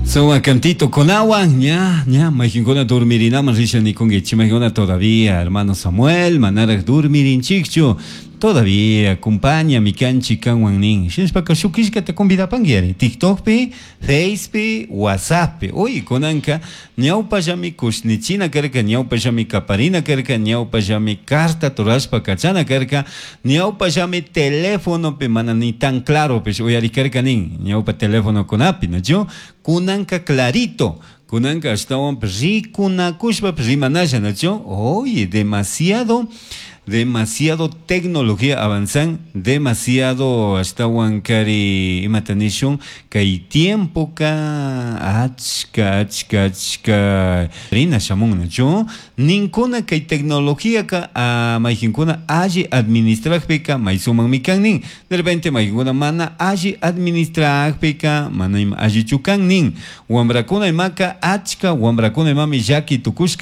Sumak cantitokunawan ña ña mayqinkuna dormirinaman risha nikunkichik, mayqinkuna todavía hermano Samuel manaraq dormirinchikchu, todavía acompáñame kanchik kanwan nin. Shinashpaka shuk killkata convidapanki ari TikTokpi, Facepi, WhatsApppi. Uy, kunanka ñawpallami kushnichina karka, ñawpallami kaparina karka, ñawpallami carta rurashpa kachana karka, ñawpallami telefonopi mana ni tan claropish uyarik karka nin, ñawpa telefonokunapi, ¿nachu? Kunanka clarito, kunanka ashtawanpish rikunakushpapish rimanalla, ¿nachu? Oye, demasiado demasiado tecnología avanzan, demasiado ashtawankari imata nishun kay tiempoka achka achka achka rina shamun, ¿nachu? Ninkuna kay tecnologíaka mayqinkuna alli administrakpika may sumakmi kan nin, de repente mayqinkuna mana alli administrakpika mana ima allichu kan nin. Wambrakuna imaka achka wambrakuna imami llaki tukushka.